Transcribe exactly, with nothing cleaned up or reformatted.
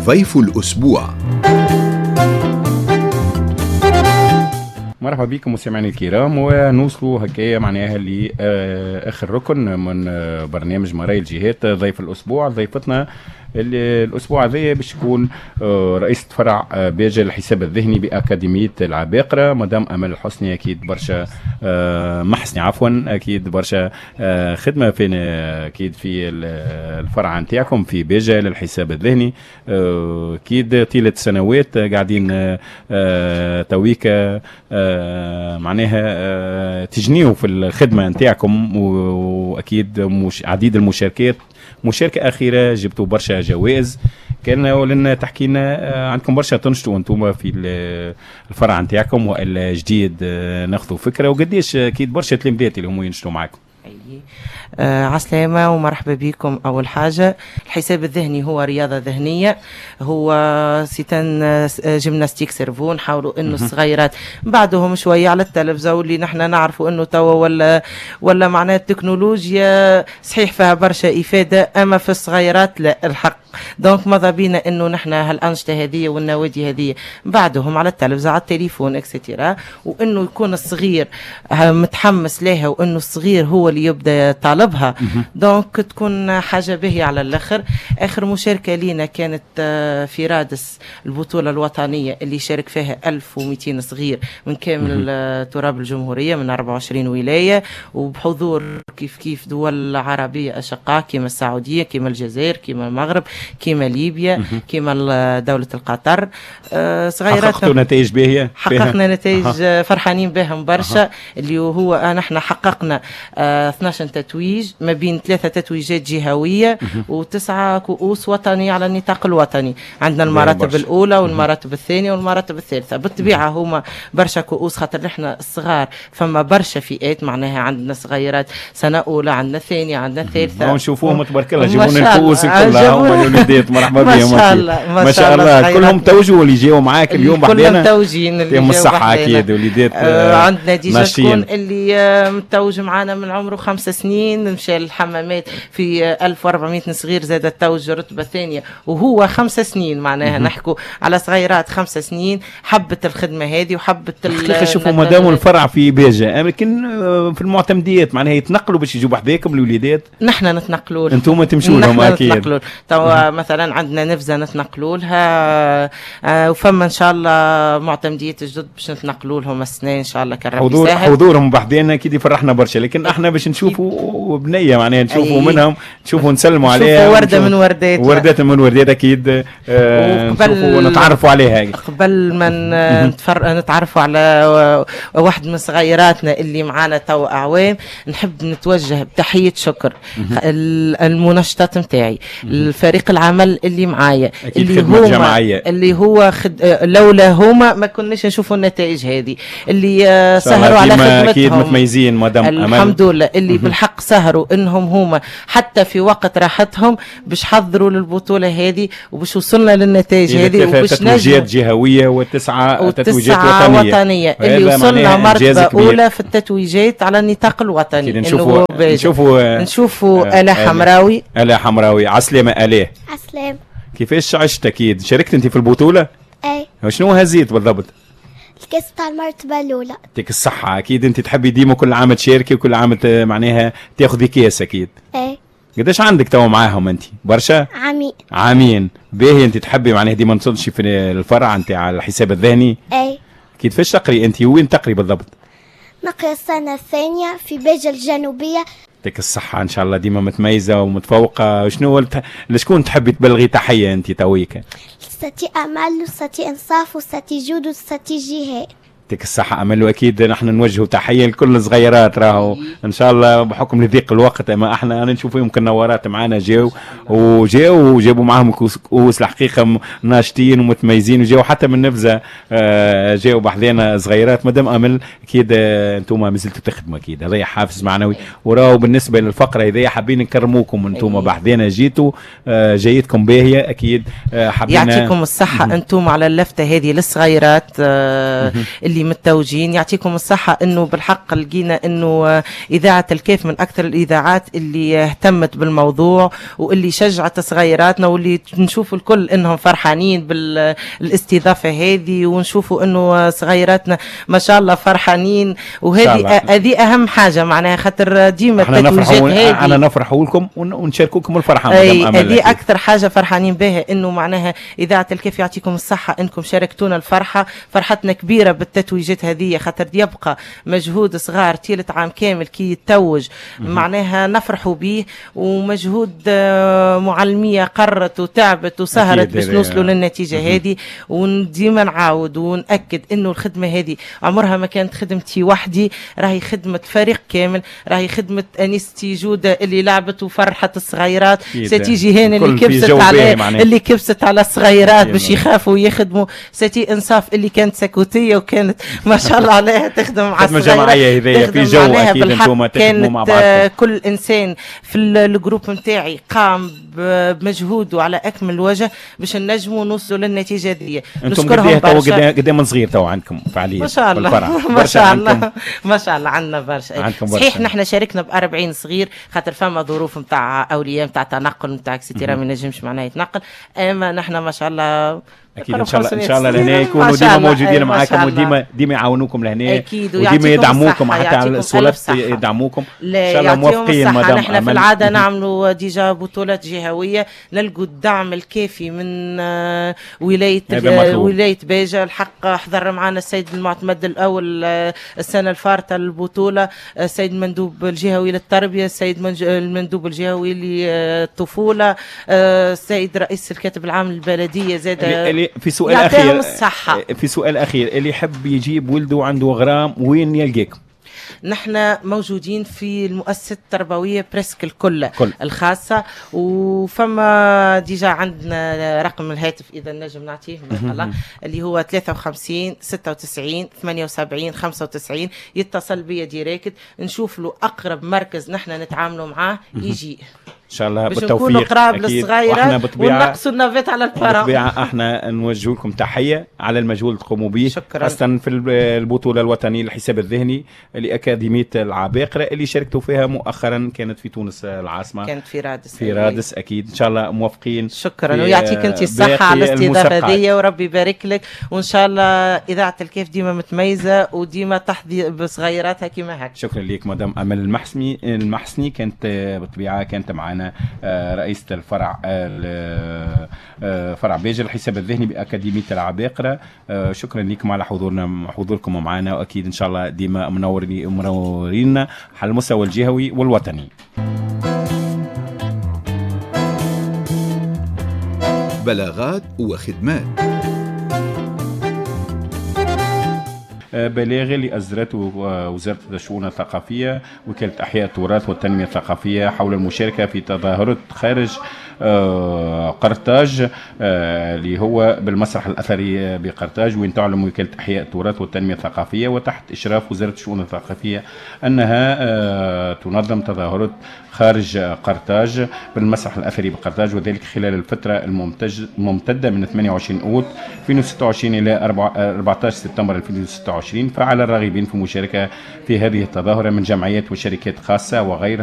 ضيف الأسبوع. مرحبا بكم مستمعينا الكرام، ونوصلوا هكايا معناها لاخر ركن من برنامج مرايا الجهات، ضيف الاسبوع. ضيفتنا الاسبوع هذا باش تكون رئيسة فرع باجة الحساب الذهني باكاديميه العباقرة، مدام امل الحسني. اكيد برشا محسني عفوا، اكيد برشا خدمة في اكيد في الفرع نتاعكم في باجة للحساب الذهني. اكيد طيلة سنوات قاعدين تويكا معناها تجنيوا في الخدمة نتاعكم، واكيد مش عديد المشاركات. مشاركة اخيرة جبتوا برشا جوائز، كان ولنا تحكي لنا عندكم برشا تنشطوا انتم في الفرع نتاعكم والا جديد ناخذوا فكرة، وقديش اكيد برشا تلميذات اللي هم ينشطوا معاكم. آه عسلامة ومرحبا بكم. أول حاجة الحساب الذهني هو رياضة ذهنية، هو c'est une gymnastique cerveau. نحاولوا انه الصغيرات بعدهم شوية على التلفزة، واللي نحن نعرفوا انه توا ولا ولا معناها التكنولوجيا صحيح فيها برشا إفادة، أما في الصغيرات لا الحق. donc ماذا بينا انه نحن هالأنشطة هذه والنوادي هذه بعدهم على التلفزة على التليفون et cetera، وانه يكون الصغير متحمس لها، وانه الصغير هو اللي يبدا طالبها. donc تكون حاجة باهيه على الاخر. اخر مشاركة لينا كانت في رادس، البطولة الوطنية اللي شارك فيها ألف ومئتين صغير من كامل تراب الجمهورية من أربعة وعشرين ولاية، وبحضور كيف كيف دول عربية اشقاء كما السعودية كما الجزائر كما المغرب كما ليبيا كما دولة القطر. صغيرات حققتوا نتائج باهيه، حققنا نتائج فرحانين بهم برشا، اللي هو نحن حققنا اثناش تتويج ما بين ثلاثة تتويجات جهوية وتسعة كؤوس وطنية على النطاق الوطني. عندنا المراتب الأولى والمراتب الثانية والمراتب الثالثة. بالطبيعة هما برشا كؤوس خاطر نحن الصغار فما برشا فئات، معناها عندنا صغيرات سنة أولى، عندنا ثانية، عندنا ثالثة. نشوفوهم تبارك الله جيبونا الكؤوس كلها هما الوليدات، مرحبا بهم. ما شاء الله ما شاء الله كلهم توجوا اللي جاوا معاك اليوم بحذانا، كلهم توجين اللي جاوا الصحة. أكيد وليدات آه عندنا déjà شكون اللي متوج معانا من عمره خمس سنين، مشى للحمامات في ألف وأربعمئة صغير زاد توج رتبة ثانية وهو خمس سنين. معناها نحكوا على صغيرات خمس سنين حبت الخدمة هذه وحبت الحقيقة. شوفوا مادام الفرع في باجة لكن في المعتمديات معناها يتنقلوا باش يجوا بحذاكم الوليدات، نحن نتنقلوا لهم، انتم تمشوا لهم اكيد. توا مثلا عندنا نفزة نتنقلوا لها، وفما ان شاء الله معتمديات جدد باش نتنقلوا لهم السنة ان شاء الله كان ربي يسهل. حضورهم بحذانا اكيد يفرحنا برشا، لكن احنا باش نشوفوا بنيه معناها نشوفوا منهم، نشوفوا نسلموا عليها، ورده من وردات، وردات من وردات اكيد. آه نشوفوا ونتعرفوا عليها. قبل ما نتفر... نتعرفوا على واحد من صغيراتنا اللي معانا تو اعوام، نحب نتوجه بتحية شكر المنشطات نتاعي، الفريق العمل اللي معايا، اللي هو اللي هو خد... لولا هما ما كناش نشوفوا النتائج هذه، اللي سهروا على خدمتهم اكيد متميزين مدام امل الحمد لله، اللي بالحق سهروا انهم هما حتى في وقت راحتهم باش حضروا للبطولة هذه وباش وصلنا للنتائج هذه، وباش تتويجات جهويه وتسعة تتويجات وطنية, وطنية. اللي وصلنا مرتبه اولى في التتويجات على النطاق الوطني. نشوفوا نشوفوا نشوفوا آلاء حمراوي. آلاء حمراوي، عسلامة آلاء. عسلامة. كيفاش عشت اكيد؟ شاركت انت في البطولة؟ اي. شنو هزيت بالضبط؟ الكاس تاع المرتبة الأولى. يعطيك الصحة، أكيد أنت تحبي ديما كل عام تشاركي وكل عام معناها تاخذي كاس أكيد. اي. قداش عندك توا معاهم أنت؟ برشا؟ عامين. عامين، باهي أنت تحبي معناها ديما تنشي في الفرع نتاع الحساب الذهني؟ اي. أكيد. فاش تقري أنت؟ وين تقري بالضبط؟ نقرا السنة الثانية في باجة الجنوبية. يعطيك الصحة، إن شاء الله ديما متميزة ومتفوقة. شنو الت... لشكون تحبي تبلغي تحية أنت تويك؟ لستي أمل وستي إنصاف وستي جود وستي جهاد. يعطيك الصحة أمل، وأكيد نحن نوجه تحية لكل الصغيرات راهو إن شاء الله بحكم لضيق الوقت، أما احنا أنا نشوف يمكن نورات معانا جاو وجاو وجابوا معاهم كؤوس الحقيقة ناشطين ومتميزين، وجاو حتى من نفزة جاو بحذانا صغيرات. مادام أمل أكيد أنتم مازلتوا تخدموا، أكيد هذا حافز معنوي. وراهو بالنسبة للفقرة هذه حابين نكرموكم أنتم بحذانا جيتوا، جايتكم باهية أكيد. حابين يعطيكم الصحة أنتم على اللفتة هذه للصغيرات اللي اللي متوجين. يعطيكم الصحة انه بالحق لقينا انه اذاعة الكاف من اكثر الاذاعات اللي اهتمت بالموضوع واللي شجعت صغيراتنا، واللي نشوفوا الكل انهم فرحانين بالاستضافه هذه، ونشوفوا انه صغيراتنا ما شاء الله فرحانين، وهذه هذه اهم حاجة معناها، خاطر ديما التتويجات هذه احنا نفرحوا لكم ونشاركوكم الفرحة. هذه اكثر حاجة فرحانين بها، انه معناها اذاعة الكاف يعطيكم الصحة انكم شاركتونا الفرحة، فرحتنا كبيرة بالتتويجات هذه، خاطر يبقى مجهود صغار طيلة عام كامل كي يتوج معناها نفرحوا به، ومجهود معلميه قرت وتعبت وسهرت باش نوصلوا للنتيجة هذه. وديما نعاود ونأكد انه الخدمة هذه عمرها ما كانت خدمتي وحدي، راهي خدمة فريق كامل، راهي خدمة انستي جوده اللي لعبت وفرحت الصغيرات، ستي جيهان اللي كبست على اللي كبست على الصغيرات باش يخافوا ويخدموا، ستي انصاف اللي كانت سكوتيه وكانت ما شاء الله عليها تخدم مع الصغيرات، جماعية هذيا في جو اكيد انتم تخدموا مع بعضكم. كل انسان في ال groupe نتاعي قام بمجهوده على اكمل وجه باش نجموا نوصلوا للنتيجة دي. انتم قد قد من صغير تو عندكم فعالية؟ ما شاء الله ما شاء الله ما شاء الله عندنا برشا. صحيح نحن شاركنا ب أربعين صغير خاطر فما ظروف نتاع اولياء نتاع تنقل نتاع et cetera ما نجمش معناها يتنقل، اما نحن ما شاء الله اكيد ان شاء الله ان شاء الله لهنا يكونوا ديما موجودين معاكم وديما ديما يعاونوكم لهنا اكيد، وديما يدعموكم حتى على الصولات يدعموكم. ان شاء الله موفقين مدام. نحن في العادة نعملوا déjà بطولات جهويه، نلقوا الدعم الكافي من ولاية ولاية باجه. الحق حضر معنا السيد المعتمد الاول السنة الفارطه البطولة، السيد المندوب الجهوي للتربية، السيد المندوب الجهوي للطفوله، السيد رئيس الكاتب العام للبلديه زاد. في سؤال اخير الصحة. في سؤال اخير، اللي يحب يجيب ولده عنده غرام وين يلقاكم؟ نحن موجودين في المؤسسة التربوية presque الكل كل. الخاصة، وفما déjà عندنا رقم الهاتف إذا نجم نعطيه الله اللي هو ثلاثة وخمسين ستة وتسعين ثمانية وسبعين خمسة وتسعين، يتصل بيا direct نشوف له أقرب مركز نحن نتعاملوا معاه يجي. ان شاء الله بالتوفيق، نكونوا قراب للصغيره ونقصوا ال navette على ال parents. بالطبيعة احنا نوجه لكم تحية على المجهود اللي تقوموا به، خاصة في البطولة الوطنية للحساب الذهني لاكاديميه العباقرة اللي شاركتوا فيها مؤخرا، كانت في تونس العاصمة، كانت في رادس. في رادس اكيد ان شاء الله موفقين. شكرا ويعطيك انت الصحة على الاستضافة دي، وربي يبارك لك، وان شاء الله اذاعة الكاف ديما متميزة وديما تحظي بصغيراتها كما هكا. شكرا لك مدام امل المحسني المحسني كانت بالطبيعة كانت معنا رئيسة الفرع فرع باجة الحساب الذهني بأكاديمية العباقرة. شكرا لكم على حضورنا حضوركم معنا، وأكيد إن شاء الله ديما منورين منورين على المستوى الجهوي والوطني. بلاغات وخدمات. بلاغ اللي أصدرته وزارة الشؤون الثقافية وكالة أحياء التراث والتنمية الثقافية حول المشاركة في تظاهرة خارج قرطاج اللي هو بالمسرح الأثري بقرطاج، وين تعلم وكالة أحياء التراث والتنمية الثقافية وتحت إشراف وزارة الشؤون الثقافية أنها تنظم تظاهرة خارج قرطاج بالمسرح الأثري بقرطاج، وذلك خلال الفترة الممتدة من ثمانية وعشرين أوت ألفين وستة وعشرين إلى أربعة عشر سبتمبر ألفين وستة وعشرين. فعلى الراغبين في المشاركة في هذه التظاهرة من جمعيات وشركات خاصة وغيرها